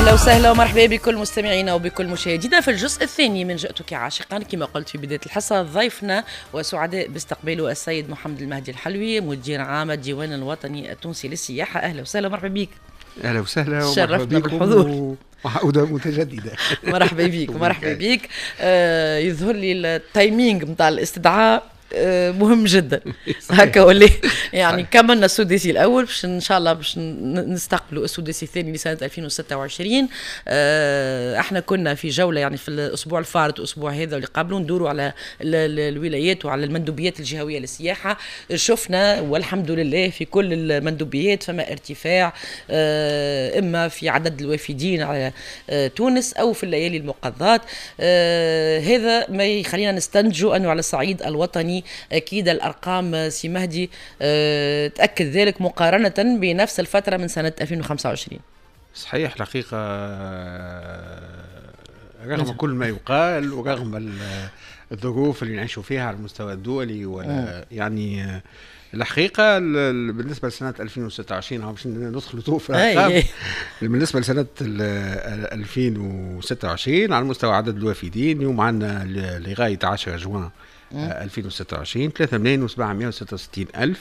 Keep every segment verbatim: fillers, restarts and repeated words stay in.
اهلا وسهلا ومرحبا بكل مستمعينا وبكل مشاهدينا في الجزء الثاني من جئتك عاشقا. كما قلت في بداية الحصة، ضيفنا وسعداء باستقباله السيد محمد المهدي الحلوي، مدير عام الديوان الوطني التونسي للسياحه. اهلا وسهلا ومرحبا بك. اهلا وسهلا. شرفتنا بالحضور. وعودة متجددة. مرحبا بك، مرحبا بك. آه يظهر لي ال timing نتاع الاستدعاء آه، مهم جدا هكا ولا؟ يعني كملنا السداسي الاول، باش ان شاء الله باش نستقبلوا السداسي الثاني لسنه ألفين وستة وعشرين. آه، احنا كنا في جولة يعني في الاسبوع الفارط والاسبوع هذا واللي قبله، ندوروا على الولايات وعلى المندوبيات الجهوية للسياحه. شفنا والحمد لله في كل المندوبيات فما ارتفاع، آه، اما في عدد الوافدين على تونس او في الليالي المقضات. هذا ما يخلينا نستنتجوا انه على الصعيد الوطني اكيد الارقام، سي مهدي، آه، تاكد ذلك مقارنة بنفس الفترة من سنة ألفين وخمسة وعشرين. صحيح، الحقيقة رغم كل ما يقال ورغم الظروف اللي نعيشوا فيها على المستوى الدولي ولا يعني الحقيقة بالنسبة لسنه ألفين وستة وعشرين، باش ندخلوا تو في بالنسبة لسنه ألفين وستة وعشرين على مستوى عدد الوافدين، اليوم عندنا لغاية عشرة جوان ألفين وستة وعشرين ثلاثة ملايين وسبعمية وستة وستين ألف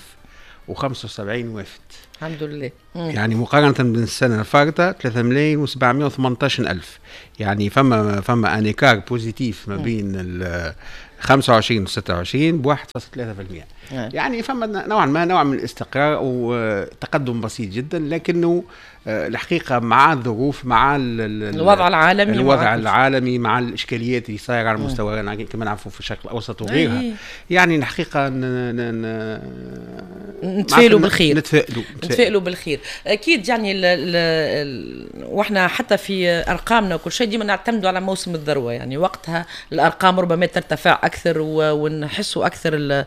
وخمسة وسبعين وافد. الحمد لله. مم. يعني مقارنة بالسنة الفارطة ثلاثة ملايين وسبعمية وثمنطاش ألف، يعني فما فما un écart positif ما بين ال خمسة وعشرين و ستة وعشرين ب واحد فاصل ثلاثة في المية. يعني فما نوعا ما نوع من الاستقرار وتقدم بسيط جدا، لكنه آه، الحقيقة مع الظروف، مع الوضع العالمي. الوضع العالمي، مع الاشكاليات اللي صايرة على المستوى كما نعرفوا في الشرق الاوسط وغيرها، يعني الحقيقة نتفائلوا بالخير. نتفائلوا. نتفائلوا بالخير اكيد. يعني ال ال واحنا حتى في ارقامنا وكل شيء ديما نعتمدوا على موسم الذروه، يعني وقتها الارقام ربما ترتفع اكثر ونحسوا اكثر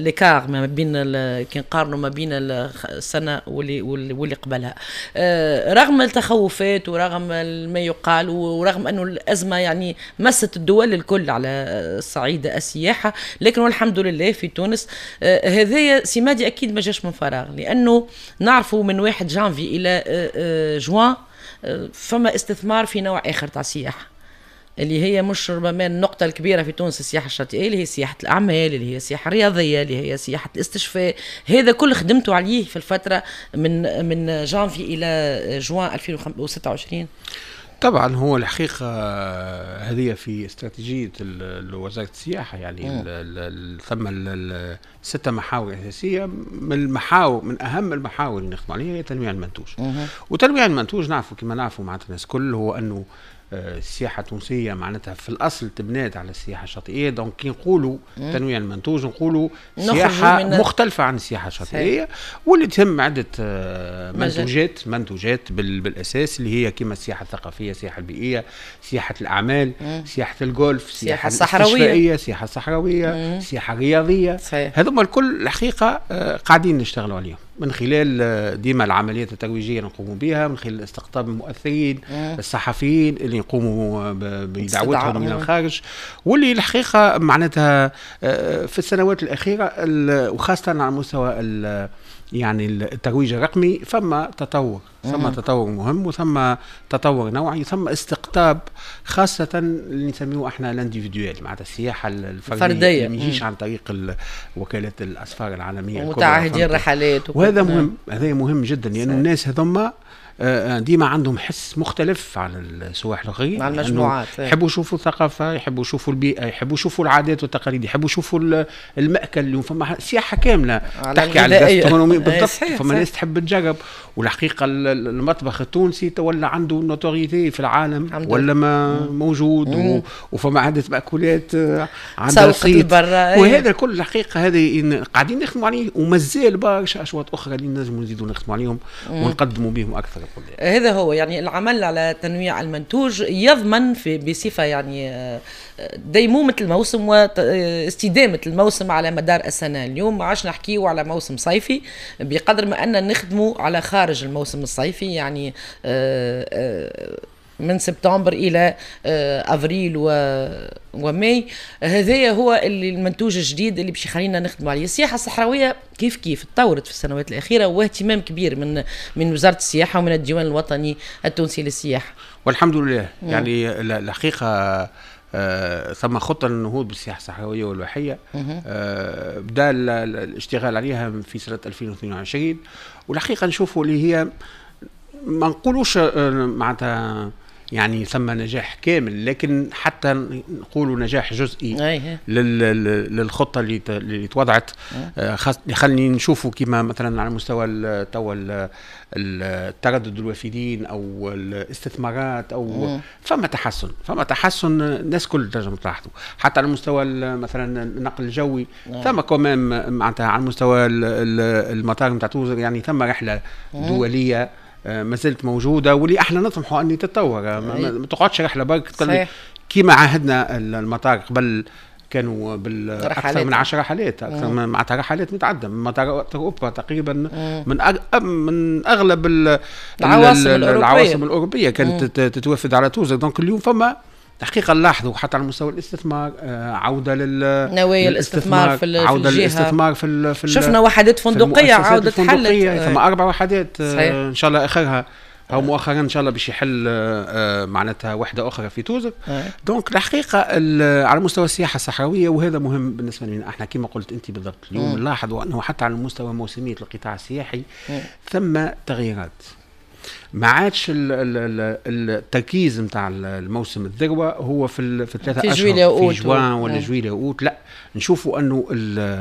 l'écart ما بين، كي نقارنوا ما بين السنة واللي واللي قبلها. آه، رغم التخوفات ورغم ما يقال ورغم انه الازمة يعني مست الدول الكل على الصعيد السياحه، لكن والحمد لله في تونس آه، هذايا سي مهدي اكيد ما جاش من فراغ، لانه نعرفوا من واحد جانفي الى آه، جوان فما استثمار في نوع اخر تاع السياحه، اللي هي مش ربما النقطة الكبيرة في تونس السياحة الشاطئية، اللي هي سياحة الأعمال، اللي هي السياحة الرياضية، اللي هي سياحة الاستشفاء. هذا كل خدمته عليه في الفترة من من جانفي إلى جوان ألفين وستة وعشرين. طبعا، هو الحقيقة هذه في استراتيجية وزارة السياحة، يعني ثم ستة محاور أساسية. من المحاور من أهم المحاور اللي نخدم عليها هي تنويع المنتوج. وتنويع المنتوج نعرفوا كما نعرفوا معناتها الناس كل هو أنه آه، السياحة التونسية معناتها في الاصل تبنات على السياحة الشاطئيه، donc كي نقولوا تنويع المنتوج نقولوا سياحة مختلفة عن السياحة الشاطئيه، واللي تهم عده آه، منتوجات منتوجات بالاساس اللي هي كما السياحة الثقافيه، السياحة البيئيه، سياحة الاعمال، مم. سياحة الجولف، السياحة الصحراويه. السياحة الصحراويه، السياحة الرياضيه. هذوما الكل الحقيقة آه، قاعدين نشتغلوا عليهم من خلال آه، ديما العمليات الترويجيه اللي نقوموا بها، من خلال استقطاب المؤثرين الصحفيين اللي نقوموا بدعوتهم من الخارج، واللي الحقيقة معناتها آه، في السنوات الاخيرة وخاصة على مستوى يعني الترويج الرقمي فما تطور، ثم تطور مهم وثم تطور نوعي، ثم استقطاب خاصة اللي نسميه احنا l'individuel، معناتها السياحة الفردية، الفردية ما يجيش عن طريق وكالة الأسفار العالمية. ومتعهدين الرحلات. وهذا مهم، هذا مهم جدا، لأن الناس هذوما آه، ديما عندهم حس مختلف عن السواح الاخرين. مع المجموعات. يحبوا يشوفوا الثقافه، يحبوا يشوفوا البيئه، يحبوا يشوفوا العادات والتقاليد، يحبوا يشوفوا المأكل. اليوم فما سياحة كاملة تحكي على ال gastronomie بالضبط. فما ناس تحب تجرب، والحقيقة المطبخ التونسي تولى عنده notoriété في العالم ولا ما موجود و... وفما عده مأكولات آه، عندها صيت. وهذا الكل الحقيقة هذه قاعدين نخدموا عليه، ومازال برشا اشواط اخرى اللي نجموا نزيدوا نخدموا عليهم ونقدموا بهم اكثر. هذا هو، يعني العمل على تنويع المنتوج يضمن في بصفة يعني آه، ديمومه الموسم واستدامه الموسم على مدار السنه. اليوم ما عادش نحكيو على موسم صيفي بقدر ما ان نخدموا على خارج الموسم الصيفي، يعني آه، آه، من سبتمبر الى آه، افريل و وماي. هذايا هو اللي المنتوج الجديد اللي باش يخلينا نخدموا عليه. السياحة الصحراوية كيف كيف تطورت في السنوات الاخيره، واهتمام كبير من من وزارة السياحة ومن الديوان الوطني التونسي للسياحه. والحمد لله. مم. يعني الحقيقة آه ثم خطه للنهوض بالسياحة الصحراوية والواحيه آه بدا الاشتغال عليها في سنة ألفين واثنين وعشرين، والحقيقة نشوفوا اللي هي ما نقولوش آه، معناتها يعني ثم نجاح كامل، لكن حتى نقولوا نجاح جزئي للخطه اللي اللي توضعت. آه، خليني نشوفوا كما مثلا على مستوى توا التردد الوافدين او الاستثمارات او فما تحسن، فما تحسن الناس كل تنجم تلاحظوا، حتى على مستوى مثلا النقل الجوي ثم quand même معناتها على مستوى المطار نتاع توزر، يعني ثم رحله دولية آه، ما زالت موجوده، واللي احنا نطمحوا ان تتطور، ما, ما تقعدش رحله برك. كيما عهدنا المطار قبل كانوا بالاكثر من عشر رحلات، اكثر من معناتها رحلات متعددة من مطار اوروبا تقريبا، من أغ... من اغلب العواصم الأوروبية. العواصم الاوروبية كانت تتوافد على توزر. donc اليوم فما الحقيقة نلاحظوا حتى على مستوى الاستثمار آه، عوده لل نوايا الاستثمار في عوده للاستثمار في ال في شفنا وحدات فندقيه عاودت حلت. ثم اربع وحدات آه، ان شاء الله اخرها او مؤخرا ان شاء الله باش يحل آه، معناتها وحده اخرى في توزر. donc الحقيقة على مستوى السياحة الصحراويه، وهذا مهم بالنسبة لنا احنا، كما قلت انت بالضبط، اليوم نلاحظوا انه حتى على مستوى موسميه القطاع السياحي ثم تغييرات. ما عادش التركيز نتاع الموسم الذروة هو في في الثلاثة في اشهر في جوان ولا جويلية اوت. لا، نشوفوا انه